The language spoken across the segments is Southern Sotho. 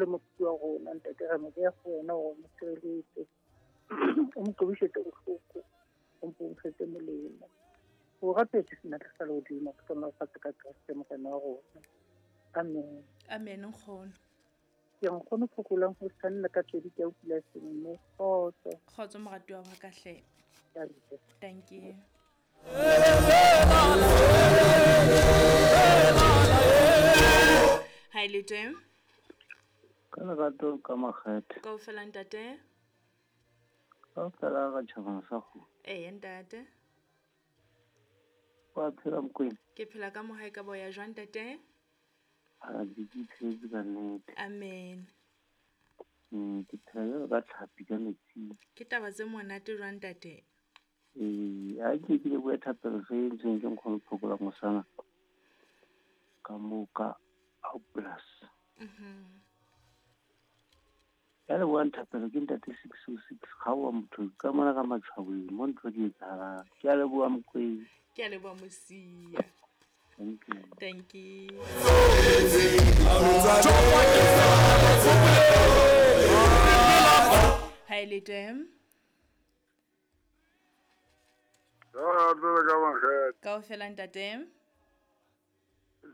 Le mokopi wa rona ntate, re mo beya go wena gore o mo sireletse, o mo qobisetse bohloko, o mpo o mo fetse molemo. O rapetse senatla sa lehodimo, ke hlohonolofatse ka Kreste Morena wa rona. Amen. Amen nkgono. Ke nkgono phokolang ho sanna ka pedi ke a utlwila seng mme kgotso. Kgotso moratuwa wa ka hle. Ke a leboha. Thank you. Ha e le teng. Ka lerato ka makgethe. Kaofela ntate. Kaofela ra tjhabana sa kgomo. Eya ntate. Wa phela Mokwena? Ke phela ka mohae ka boya jwang ntate? A ke iphetse ka nnete. Amen. Ke phela jwalo ka tlhapi ka metsing. Ke taba tse monate jwang ntate? Ee, a ke ke lebohe thapelo se entsweng ke nkgono Phokola Mosana ka moo ka Outplus. Ya lebohang thapelo ke ntate 606 kgaowa motho ka mona ka matshwabeng mo ntho di etsahalang. Ke a leboha Mokwena. Ke a leboha Mosia. Thank you. Thank you. Ha e le teng. Lerato ka makgethe. Kaofela ntate.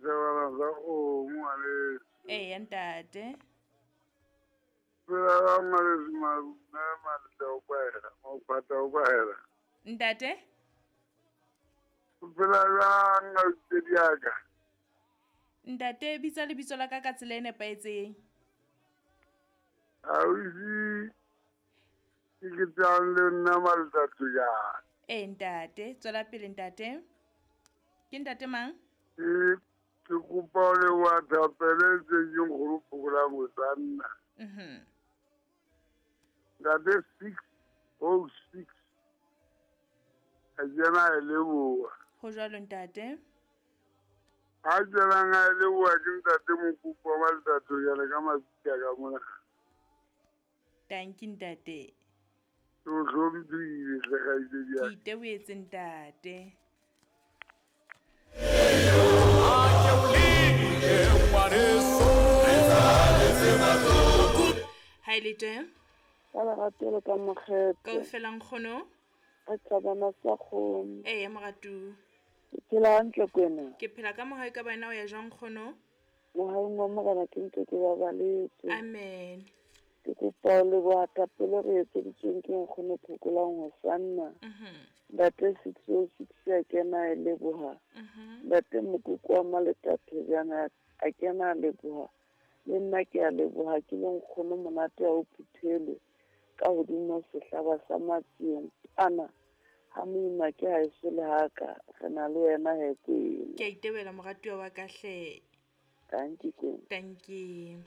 Sebana sa kgomo ngwaneso. Eya ntate. Phela ka ngwaneso mme Maleta o kwahela, Mophatla o kwahela. Ntate? O phela jwang abuti ya ka? Ntate, bitsa lebitso la ka ka tsela e nepahetseng. Ausi ke ke tsang le nna Maleta Thojane. Ee ntate, tswela pele ntate. Ke ntate mang? Ke kopa ho leboha thapelo e entsweng ke nkgono Phokolang Hosanna. Ntate 606 a kena a e leboha. Ho jwalo ntate. A tswelang a e leboha ke ntate Mokopi wa Maleta Thojane ka mabitla ka mona. Thank you ntate. Ke o hlomphile hle kgaitsedi ya Ke itebohetse ntate. Ha e le teng. Ka lerato le ka makgethe. Kaofela nkgono. Re thabana sa kgomo. Eya moratuwa. Ke phela hantle kwena. Ke phela ka mohau ka bana o ya jwang nkgono? Mohaung wa Morena ke ntse ke babaletswe. Amen. Ke kopa ho leboha thapelo re etseditsweng ke nkgono Phokolang Hosanna. Ntate 606 a kena a e leboha. Ntate Mokoko wa Maleta Thojane a kena a leboha. Le nna ke a leboha ke le nkgono monate ha o phuthelwe ka hodimo sehlaba sa matsieng pana ha moima ke haeso le haka re na le wena he kwena. Ke a itebela moratuwa wa ka hle. Thank you kwena. Thank you.